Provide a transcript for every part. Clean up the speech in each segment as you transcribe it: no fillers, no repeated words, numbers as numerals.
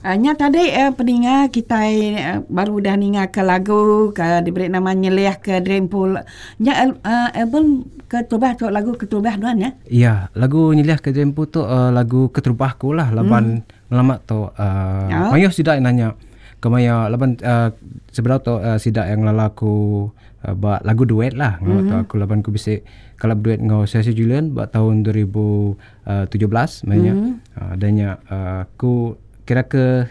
Nya tadi peninga kitai baru udah ninga ke lagu ke diberi nama Nyelih ke Dreampool. Nya album keterubah tu lagu keterubah nuan ya? Ya, lagu Nyelih ke Dreampool tu lagu keterubah aku lah laban ngelama tu mayuh sida nanya kemaya laban sebedau tu sida yang ngelala aku ba lagu duet lah ngelama tu aku laban ku bisi kala beduet enggau Sesi Julian ba taun 2017 maya nya. Udah nya aku kira ke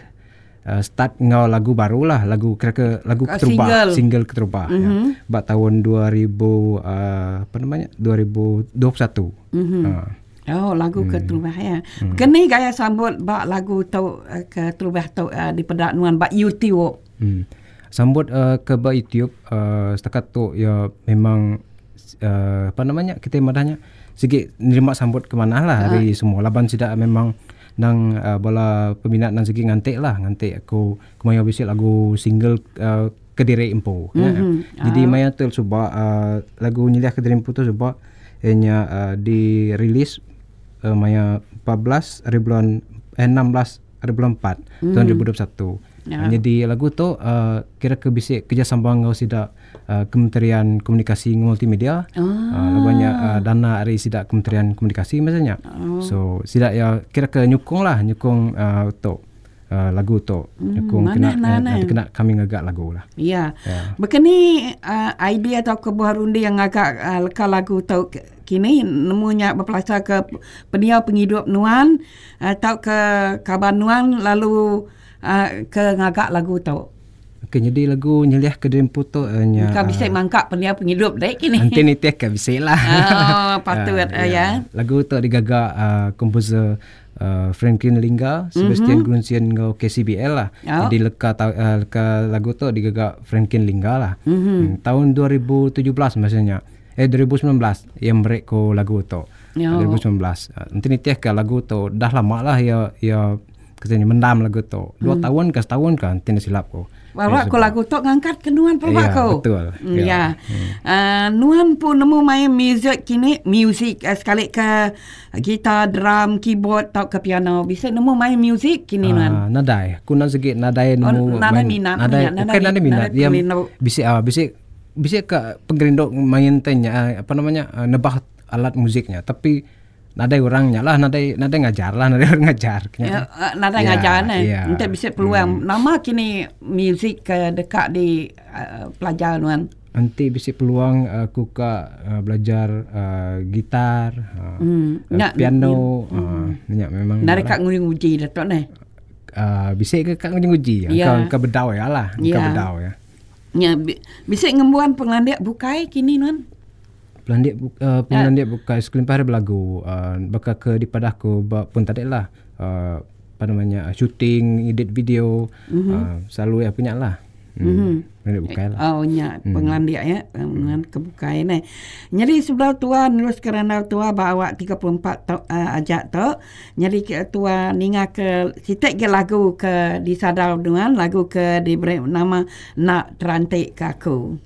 start enggau lagu baru lah lagu kira ke lagu keterubah single keterubah ya ba taun 2000 apa nama nya 2021. Oh lagu keterubah ya. Keni gaya sambut ba lagu tu keterubah tu dipeda nuan ba YouTube? Sambut ke ba YouTube setakat tu iya memang apa nama nya kitai madah nya sigi nerima sambut ke manah lah ari semua laban sida memang nang bala peminat nang sigi nganti lah nganti aku kemaya bisi lagu single kediri empu nya. Jadi maya tu suba lagu nyeliah kediri empu tu suba iya nya dirilis maya 14 hari bulan eh 16 hari bulan 4 tahun 2021. Jadi lagu tu kira ke bisi kerjasama enggau sida Kementerian Komunikasi enggau Multimedia. Oh. Laban nya dana ari sida Kementerian Komunikasi masa nya. Oh. So sida ya kira ke nyukung lah, nyukung uh, tu uh, lagu tu. Nyukung kena eh, kena kami ngaga lagu lah. Ya. Yeah. Bekeni uh, idea atau kebuah runding ngaga uh, leka lagu tu kini nemu nya bepelasar ke pendiau pengidup nuan atau ke kaban nuan lalu uh, ke ngaga lagu tu. Okey nyadi lagu nyeliah ke diri empu tu nya. Engka bisi mangka pendiau pengidup dek kini. Enti nitih ke bisi lah. Oh patut uh, ya. Lagu tu digaga uh, komposer uh, Franklin Lingga, Sebastian mm-hmm. Grunsian enggau KCBL lah. Oh. Jadi leka uh, leka lagu tu digaga Franklin Lingga lah. Mm-hmm. Hmm, tahun 2017 maksudnya. Eh 2019 ia meri ku lagu tu. Oh. 2019. Enti nitih ke lagu tu dah lama lah ia ia Kata nya mendam lagu tu. Dua tahun ke setahun ke enti enda silap ku. Bawa ku lagu tu ngangkat ke nuan pelaba Ya, ku. betul. Ya. Ya. Uh, nuan pun nemu main music kini, music uh, sekali ke gitar, drum, keyboard tau ke piano. Bisa nemu main music kini nuan. Uh, nadai. Aku nak segi nadai Oh, nemu nadai main. minat, Nadai, minat, bukan nadai minat. nadai Dia pengerindu. bisi ah bisi bisi ke pengerindu main tanya apa namanya nebah alat musiknya tapi Nadai orang nya lah nadai nadai ngajar lah nadai orang ngajar nya. Ya, eh, nadai ya, ngajar ne. Ya. Enti bisi peluang hmm. nama kini muzik ke deka di uh, pelajar nuan. Enti bisi peluang aku ka uh, belajar uh, gitar, uh, hmm. uh, piano, hmm. uh, nya memang. Nadai ka nguji-nguji dah tu ne. Uh, bisi ke ka nguji-nguji. Ya. Engka bedau ya lah, engka ya. bedau ya. Nya bisi ngembuan pengelandik bukai kini nuan. Pelandik uh, pengelandik bukai sekelimpah ari belagu uh, baka ke dipadah ku ba pun tadi lah uh, apa namanya shooting, edit video mm-hmm. uh, selalu ya punya lah. Hmm. Mm-hmm. Pengelandik bukai lah. Oh nya mm. pengelandik ya mm. ke bukai ne. Jadi sebelah tua nerus ke randau tua ba awak 34 tu uh, ajak tu. Jadi ke tua ninga ke sitik ke lagu ke disadau nuan lagu ke diberi nama Nak Terantik Ke Aku.